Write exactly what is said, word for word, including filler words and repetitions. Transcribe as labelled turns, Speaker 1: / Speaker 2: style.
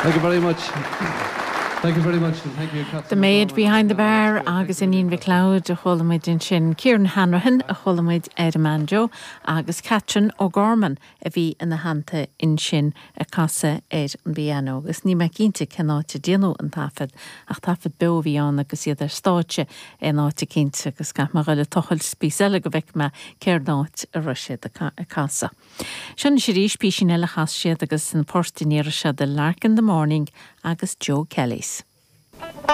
Speaker 1: Thank you very much. Thank you very much and thank you
Speaker 2: The Maid Behind the Bar agus Iníon McLeod a chuala muid ansin Kieran Hanrahan a chuala muid ar an mbanjo agus Catherine O'Gorman a bhí ina theannta ansin ag casadh ar an bpianó agus níl mé cinnte cén áit a déanadh an taifead ach taifead beo a bhí ann agus iad ar stáitse in áit eicínt agus caithfidh mé dhul ag tochailt píosa eile go bhfeicfidh mé cén áit a raibh siad ag casadh. Seo arís píosa eile a chas siad agus an port a ndéarfaidh siad The Lark in the Morning agus Joe Kelly's.